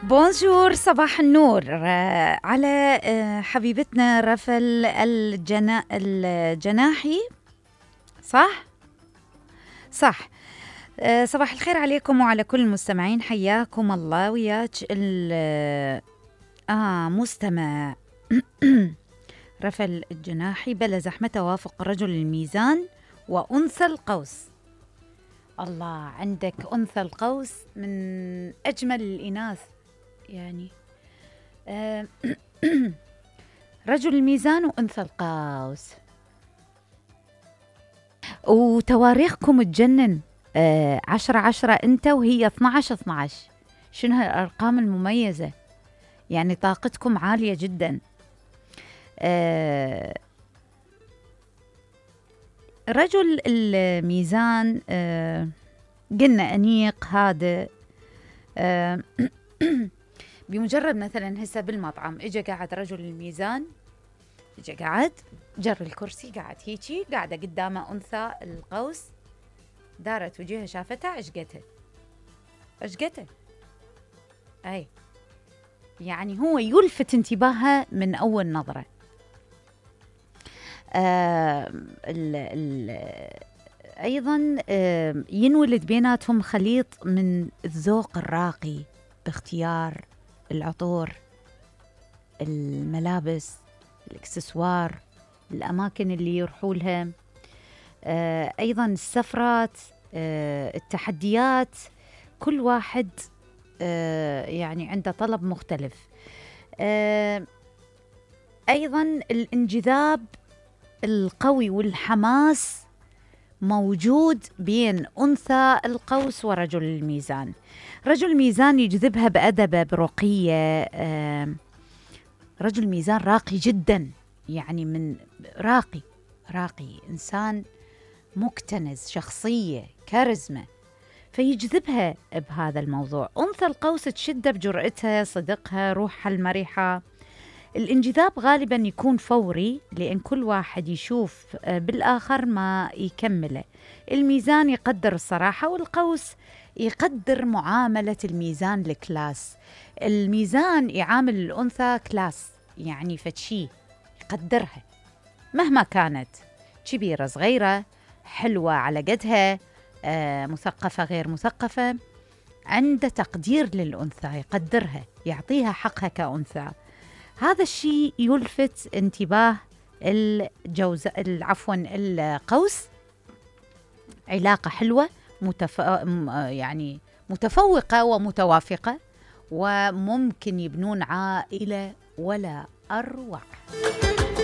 بونجور، صباح النور على حبيبتنا رفل الجناحي. صح. صباح الخير عليكم وعلى كل المستمعين، حياكم الله وياك مستمع رفل الجناحي. بلا زحمة توافق رجل الميزان وأنثى القوس. الله، عندك أنثى القوس من أجمل الإناث يعني. رجل الميزان وأنثى القوس، وتواريخكم تجنن. 10/10 أنت وهي 12/12. شنو هالأرقام المميزة؟ يعني طاقتكم عالية جدا. رجل الميزان قلنا أنيق هادئ. بمجرد مثلا هسه بالمطعم اجى قاعد رجل الميزان، اجى قاعد جر الكرسي، قاعد هيجي، قاعدة قدامه أنثى القوس، دارت وجهها شافتها عشقته. أي يعني هو يلفت انتباهها من أول نظرة. أيضا ينولد بيناتهم خليط من الذوق الراقي باختيار العطور، الملابس، الاكسسوار، الأماكن اللي يروحوا لها، أيضا السفرات، التحديات. كل واحد يعني عنده طلب مختلف. أيضا الانجذاب القوي والحماس موجود بين أنثى القوس ورجل الميزان. رجل الميزان يجذبها بأدبه برقية. رجل الميزان راقي جدا، يعني من راقي إنسان مكتنز، شخصية، كاريزما، فيجذبها بهذا الموضوع. أنثى القوس تشده بجرأتها، صدقها، روحها المرحة. الانجذاب غالبا يكون فوري، لأن كل واحد يشوف بالآخر ما يكمله. الميزان يقدر الصراحة، والقوس يقدر معاملة الميزان الكلاس. الميزان يعامل الأنثى كلاس، يعني فتشي يقدرها مهما كانت، كبيرة صغيرة، حلوة على قدها، مثقفة غير مثقفة، عنده تقدير للأنثى، يقدرها، يعطيها حقها كأنثى. هذا الشيء يلفت انتباه القوس. علاقة حلوة، يعني متفوقة ومتوافقة، وممكن يبنون عائلة ولا أروع.